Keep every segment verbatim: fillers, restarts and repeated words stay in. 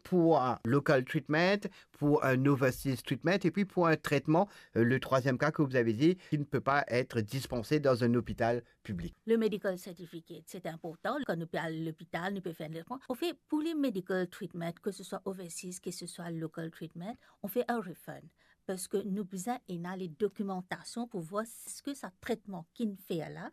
pour un local treatment, pour un overseas treatment et puis pour un traitement, euh, le troisième cas que vous avez dit, qui ne peut pas être dispensé dans un hôpital public. Le medical certificate, c'est important. Kan nou pe al lopital, nou pe fer enn traitement. An fet, pou le medical treatment, ke se swa overseas, ke se swa local treatment, on fait un refund. Parski nou bizin ena le dokimantasion pou vwar eski sa tretman ki'nn fer la,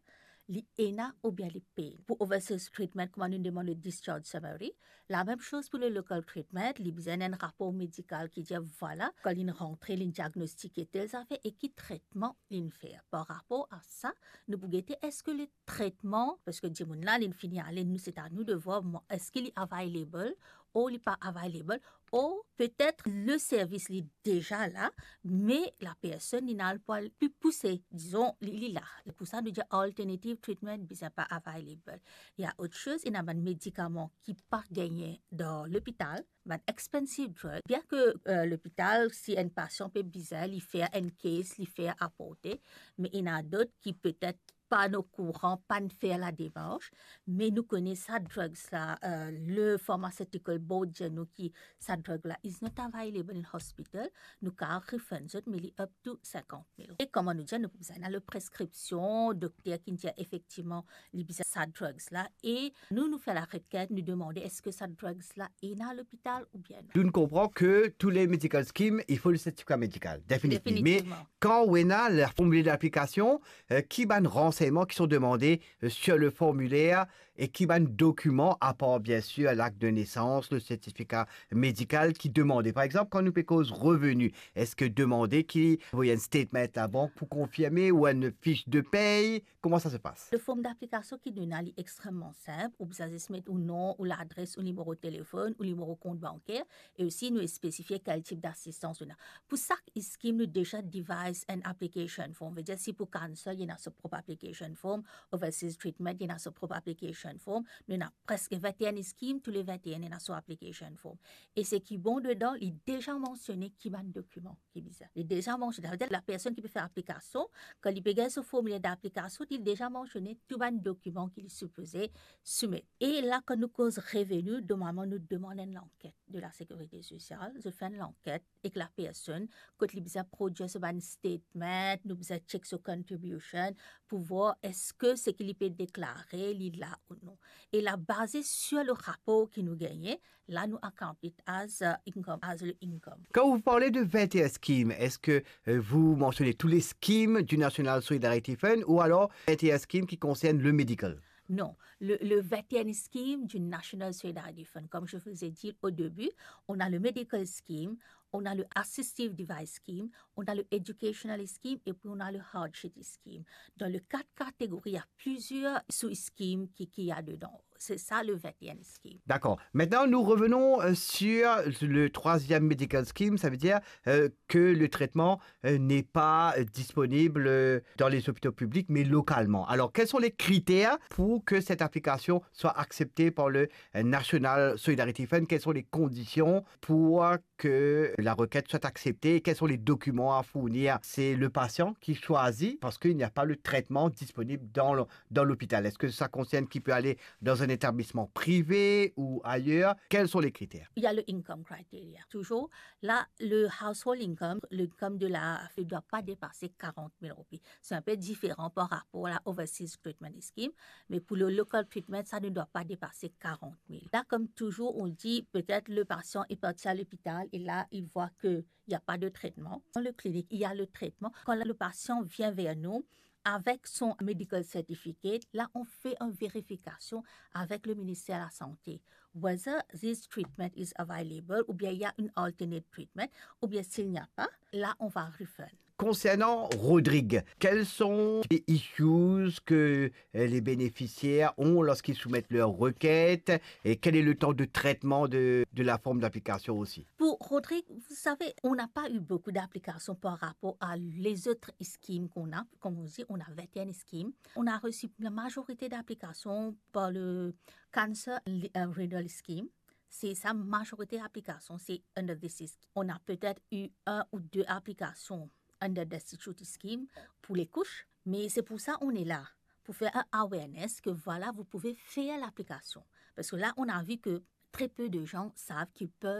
li ena oubien li pena. Pou overseas treatment, kouma nou demann le discharge summary, la mem soz pou le local treatment, li bizin enn rapor medikal ki dir, vwala, kan li'nn rantre, li'nn diagnostike tel zafer e ki tretman li'nn fer. Par rapor a sa, nou pou gete eski le tretman, parski dimoun la, li'nn fini ale, nou, se a nou de vwar, mwa, eski li available, ou li pa available, ou petet le servis li deza la, me lapersonn li ena le pwa pli pouse, dizon, li, li la. Pou sa, nou dir alternative treatment bizin pa available. Ena lot soz, ena bann medikaman ki pa gagne dan lopital, bann expensive drug. Bien ke, euh, lopital, si enn pasian pe bizin, li fer enn case, li fer aporte, me ena dot ki petet pa'nn okouran, pa'nn fer la demars, me nou kone sa drugs la, euh, le Pharmaceutical Board dir nou ki sa drug la is not available in hospital, nou kapav refund zot, me li up to sinkant mil. E kouma nou dir, nou pou bizin ena le preskripsion, dokter ki'nn dir efektivman li bizin sa drugs la, e nou, nou fer lareket, nou demande eski sa drugs la ena lopital oubien non. Donk nou konpran ke tou le medical scheme, il faut le certificat médical, définitivement. Définitivement. Kan ou ena le formulaire d'application, euh, ki bann ransegnman ki sont demandés, euh, sur le formulaire e ki bann dokiman, apar bien sûr l'acte de naissance, le certificat médical, ki demande? Par exanp, kan nou pe koz revenu, eski demande ki voye enn statement labank pou konfirme ou enn fiche de paye? Kouma sa se pas? Le form d'aplikasion ki nou ena, li extreman sinp. Ou bizin zis met ou nom, ou ladres, ou nimero telefonn, ou nimero kont banker, e osi nou spesifie kel tip dasistans nou ena. Pou sak scheme, nou deza devise enn application form. Vedir, si pou cancer, li ena so prop application form, overseas treatment, li ena so prop application form. Nou ena preske vinte-e-enn scheme, tou le vinte-e-enn ena so application form. E seki bon dedan, li deza mansione ki bann dokiman ki bizin. Li deza mansione, savedir lapersonn ki pe fer aplikasion, kan li pe gagn so formulaire d'aplikasion, li deza mansione tou bann dokiman ki li sipoze soumet. E la, kan nou koz revenu, normalman nou demann enn lanket de la Sécurité Sociale, zot fer enn lanket ek lapersonn, kot li bizin prodwir so bann statement, nou bizin check so contribution pou vwar eski seki li pe deklare, li la ou non. E la, baze sur le rapor ki nou gagne, la nou account it as, euh, income, as le income. Quand vous parlez de vingt et un schemes, est-ce que, euh, vous mentionnez tous les schemes du National Solidarity Fund ou alors vingt et un schemes qui concernent le medical? Non, le, le vingt et un schemes du National Solidarity Fund, comme je vous ai dit au début, on a le medical scheme, on a le assistive device scheme, on a le educational scheme et puis on a le hardship scheme. Dans les quatre catégories, il y a plusieurs sous-schemes qui, qui y a dedans. C'est ça le vingt et un scheme. D'accord. Maintenant, nous revenons, euh, sur le troisième medical scheme. Ça veut dire, euh, que le traitement, euh, n'est pas, euh, disponible, euh, dans les hôpitaux publics, mais localement. Alors, quels sont les critères pour que cette application soit acceptée par le, euh, National Solidarity Fund? Quelles sont les conditions pour que la requête soit acceptée et quels sont les documents à fournir? C'est le patient qui choisit parce qu'il n'y a pas le traitement disponible dans le, dans l'hôpital. Est-ce que ça concerne qui peut aller dans un établissement privé ou ailleurs? Quels sont les critères? Il y a le income criteria. Toujours, là, le household income, l'income de la, ne doit pas dépasser quarante mille roupies. C'est un peu différent par rapport à la Overseas Treatment Scheme, mais pour le local treatment, ça ne doit pas dépasser quarante mille. Là, comme toujours, on dit, peut-être le patient est parti à l'hôpital et là, il voit que il n'y a pas de traitement. Dans le clinique, il y a le traitement. Quand le patient vient vers nous avec son medical certificate, là, on fait une vérification avec le ministère de la Santé. Whether this treatment is available, ou bien il y a une alternate treatment, ou bien s'il n'y a pas, là, on va refund. Concernant Rodrigue, quels sont les issues que, euh, les bénéficiaires ont lorsqu'ils soumettent leur requête et quel est le temps de traitement de, de la forme d'application aussi? Pour Rodrigue, vous savez, on n'a pas eu beaucoup d'applications par rapport à les autres schemes qu'on a. Comme on dit, on a vingt et un schemes. On a reçu la majorité d'applications par le Cancer, euh, Renal Scheme. C'est sa majorité d'applications, c'est under this scheme. On a peut-être eu un ou deux applications under destitute scheme pour les couches, mais c'est pour ça on est là, pour faire un awareness que voilà, vous pouvez faire l'application. Parce que là, on a vu que très peu de gens savent qu'ils peuvent